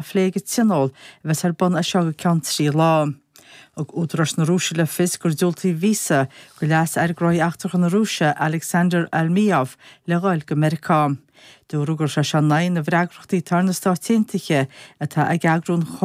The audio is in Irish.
Phlé ag an Tionól a bheas ar bun as seo go ceann 3 lá. Thug údaráis na Rúise le fios gur diúltaíodh víosa do Leas-Aire Gnóthaí Eachtracha na Rúise, Alexander Almeyov, le dhul go Meiriceá. Dúradh go raibh sé seo in aghaidh na bhfreagrachtaí atá ar na Stáit Aontaithe atá ag eagrú an.